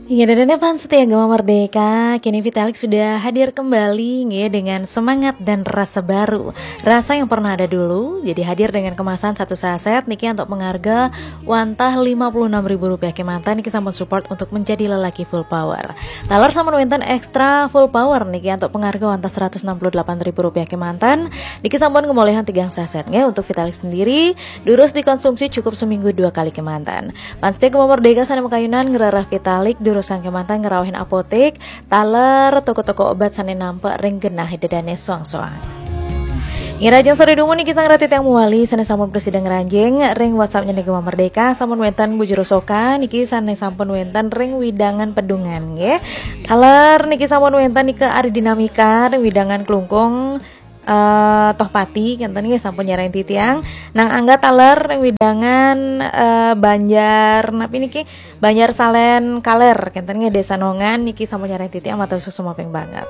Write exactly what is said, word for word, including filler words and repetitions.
Ingat dan fans setia Gema Merdeka, kini Vitalik sudah hadir kembali ya, dengan semangat dan rasa baru. Rasa yang pernah ada dulu, jadi hadir dengan kemasan satu saset niki untuk pengharga wantah lima puluh enam ribu rupiah kemanten niki sampun support untuk menjadi lelaki full power. Taler sampun wenten extra full power niki untuk pengharga wantah seratus enam puluh delapan ribu rupiah kemanten niki sampun ngembalikan tigang saset nggih untuk Vitalik sendiri. Durus dikonsumsi cukup seminggu dua kali kemanten. Fans setia Gema Merdeka sané makayunan ngrereh Vitalik durusang kemanten ngraohin apotek, taler toko-toko obat sané nampek ring genah dedane soang-soang. Ngirajeng sore dumun niki sang rati tiang muwali sané sampun prasida ngranjing ring WhatsApp-nya Gema Merdeka sampun wenten Bu Juru Soka niki sané sampun wenten ring wewidangan Pedungan nggih. Taler niki sampun wenten nika Ari Dinamika ring wewidangan Klungkung eh, Tohpati kenten nggih sampun nyarengin titiang. Nang Angga taler ring wewidangan eh, Banjar napi niki Banjar Salen Kaler kenten nggih Desa Nongan niki sampun nyarengin titiang matur suksma ping banget.